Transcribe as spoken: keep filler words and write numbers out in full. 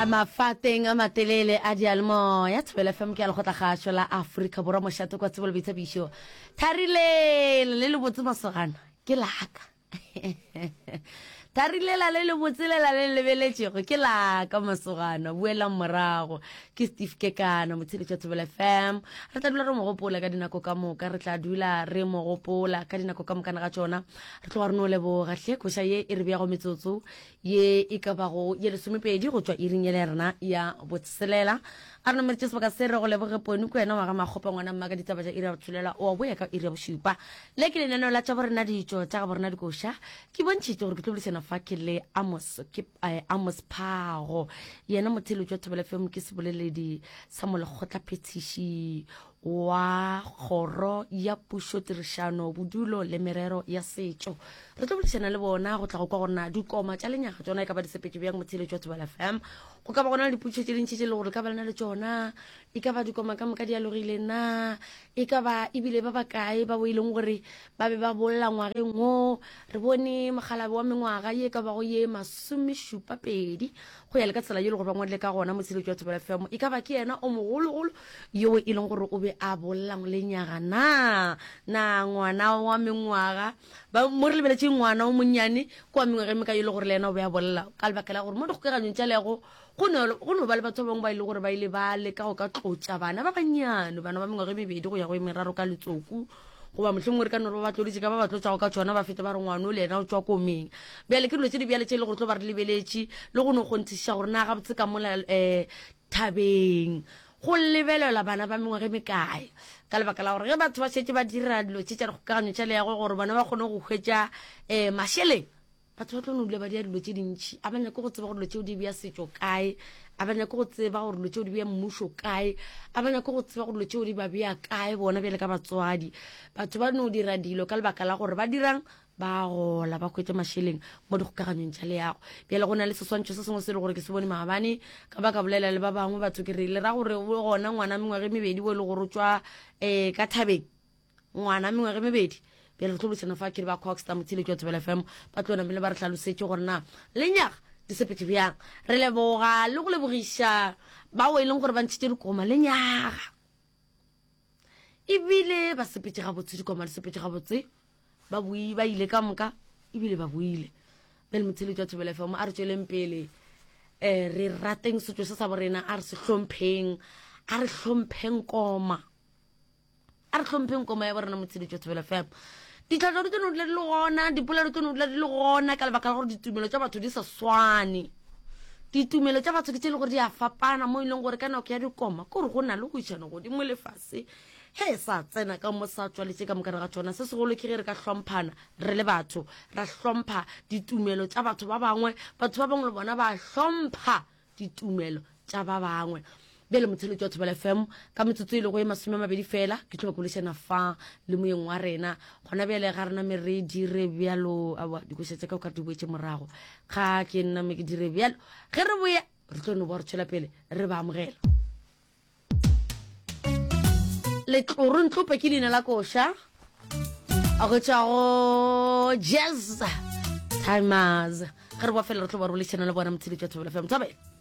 Mafateng a matelele a diyalemoya, Thobela F M ke ya Lekgotlakgašo la Afrika Borwa, mošate kwa tsebo le boithabišo. Thari lela le lebotse masogana ke laka. Thari lela le lebotse lela le lebeletšego ke laka masogana, boelang morago. Ke Steve Kekana, motsheletši wa Thobela F M. Re tla dula re mo gopola ka dinako ka moka, re tla dula re mo gopola ka dinako ka mokana ga tšona. Re tloga re no leboga hle koša ye e re beago metsotso ye e ka bago ye lesomepedi go tšwa iring yela ya rena ya botshelela. A re nameletše sebaka se re go leboge Poni ke wena wa ga Makgopa ngwana mma ka ditaba tša iri ya botshelela o a boya ka iri ya bošupa. Le ke lenaneo la tša borena ditšo tša ga borena dikoša. Ke bontšhitše gore ke tlo boledišana fa ke le Amos, ke, eh, Amos Phago, yena motheeletši wa Thobela F M, ke seboleledi sa molekgotlaphethiši wa kgoro ya pušo tirišano bodulo le merero ya setšo. Re tlo boledišana le bona go tla go kwa gore na dikoma tša lenyaga tšona e ka ba di sepetše bjang motheeletši wa Thobela F M. Go ka ba gona le dipotšišo tše dintši tše e le gore ka ba lena le tšona, e ka ba dikoma ka moka di alogile na, e ka ba ebile ba bakae ba bo e leng gore ba be ba bolla ngwageng wo. Re bone mogalabe wa mengwaga ye ka bago ye masomešupa pedi go ya le ka tsela ye le gore ba ngwadile ka gona motheeletši wa Thobela F M. E ka ba ke yena o mogologolo yo e leng gore o be a bolla lenyaga na, na ngwana wa mengwaga ba mo re lebeletše ngwana o monnyane kwa mengwaga e mekae e le gore le yena o be a bolla, ka lebaka la gore mo dikgokaganyong tša leago go no, go no ba le batho ba bangwe ba e le gore ba ile ba leka go ka tlotša bana ba bannyane, bana ba mengwaga e mebedi go ya go e meraro ka letsoku, goba mohlomongwe re ka no re ba ba tloditše ka ba ba tlotšago ka tšona, ba fete ba re ngwana o le yena o tšwa komeng. Bjale ke dilo tše di bjale tše e le gore tlo ba re lebeletše le go no kgonthišiša gore na gabotse ka mola, eh, thabeng go lebelela bana ba mengwaga e mekae, ka lebaka la gore ge batho ba šetše ba dira dilo tše tša dikgokaganyo tša leago gore bona ba kgone go hwetša, eh, mašeleng, batho ba tlo no dula ba dira dilo tše dintši. A ba nyake go tseba gore dilo tšeo di bea setšo kae, a ba nyake go tseba gore dilo tšeo di bea mmušo kae, a ba nyake go tseba gore dilo tšeo di ba bea kae bona bjale ka batswadi. Batho ba no dira dilo ka lebaka la gore ba dirang, ba gola ba hwetša mašeleng mo dikgokaganyong tša leago. Bjale go na le seswantšho se sengwe se e le gore ke se bone maabane, ka ba ka bolela le ba bangwe batho ke re le ra gore o gona ngwana mengwaga e mebedi o e le gore o tšwa, eh, ka thabeng, ngwana mengwaga e mebedi. Bjale re tlo boledišana fa ke re ba Cogstar motheeletši wa Thobela F M ba tlo namele ba re hlalosetše gore na lenyaga di sepetše bjang. Re leboga le go lebogiša bao e leng gore ba ntšhitše dikoma lenyaga, ebile ba sepetše gabotse, dikoma di sepetše gabotse, ba boi, ba ile ka moka ebile ba boile. Bjale motheeletši wa Thobela F M, a re tšweleng pele, eh, re rateng setšo se sa borena, a re se hlompheng, a re hlompheng koma, a re hlompheng koma ya borena motheeletši wa Thobela F M. Ditlhahlo di tlo no dula di le gona, dipolelo di tlo no dula di le gona, ka lebaka la gore ditumelo tša batho di sa swane. Ditumelo tša batho ke tše e le gore di a fapana, mo e leng gore ka nako ya dikoma ke gore go na le go išana godimo lefase he sa tsena ka mo sa tswaletše ka moka ga tšona. Se segolo ke ge re ka hlomphana re le batho, ra hlompha ditumelo tša batho ba bangwe, batho ba bangwe le bona ba hlompha ditumelo tša ba bangwe. Bjale motheeletši wa Thobela F M, ka metsotso e lego e masome a mabedi fela ke tlo ba kolešana fa le moyeng wa rena. Gona bjale ga rena me re dire bjalo, aowa, dikoša tša ka o ka re di boetše morago, ga ke nna me ke dire bjalo. Ge re boya re tlo no ba re tšwela pele re ba amogela. Letloro Ntlope ke leina la koša go tšwa go Jazz Timers. Ge re boa fela re tlo ba re boledišana le bona motheeletši wa Thobela F M. Thobela.